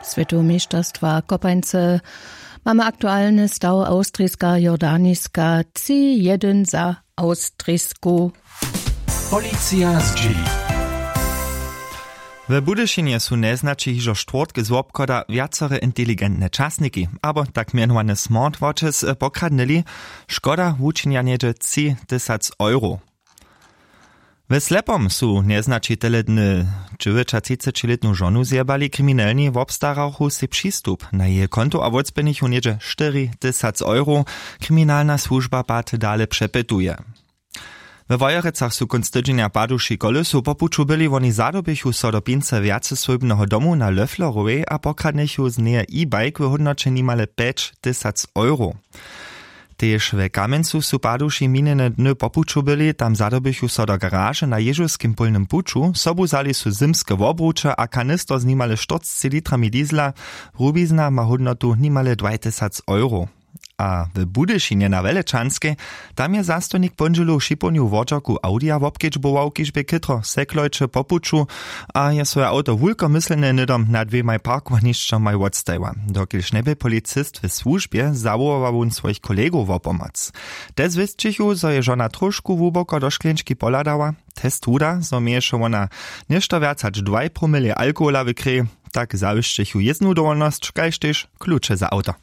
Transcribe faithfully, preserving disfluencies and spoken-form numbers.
Swětowe měšterstwa kopańce. Mamy aktualny staw: awstriska jordaniska tři jedyn za awstrisku. Policija zdźěli. W budyšinje su njeznaći hižo štwórtk z wobchoda wjacere inteligentne časniki abo tak mjenowane smartwatches pokradnyli. Škoda wučinja něhdźe tři tysac euro. We slepom su njeznaći tele dny dźewjećatřicećilětnu žonu zjebali. Kriminelni wobstarachu sej přistup na jeje konto a wótspěnichu něhdźe štyri tysac euro. Kriminalna słužba pak dale přepytuje. We wojerecach su kónc tydźenja paduši kolesu po puću byli. Woni zadobichu so do pince wjaceswójbneho domu na löfflerowej a pokradnychu z njeje e-bike w hódnoće nimale pjeć tysac euro. Tež we kamjencu su paduši minjene dny po puću byli. Tam zadobichu so do garaže na ježowskim pólnym puću, sobu wzali su zymske wobruče a kanister z nimale štyrcci litrami diesla. Rubizna ma hódnotu nimale dwaj tysac euro. A w budyšinje na welečanskej, tam je zastojnik póndźělu w šipownju wodźerku audija wobkedźbował, kiž bě chětro seklojće po puću a je swoje awto wulkomyslnje hnydom nad dwěmaj parkowanišćomaj wotstajiła. Dokelž njebě policist w słužbje, zawołała wón swojich kolegow wo pomoc. Te zwěsćichu, zo je žona tróšku hłuboko do škleńčki pohladała. Test wuda, zo měješe wona něšto wjac hač dwaj promilej alkohola w krej. Tak zawěsćechu jěznu dowolnosć kaž tež kluče za awto.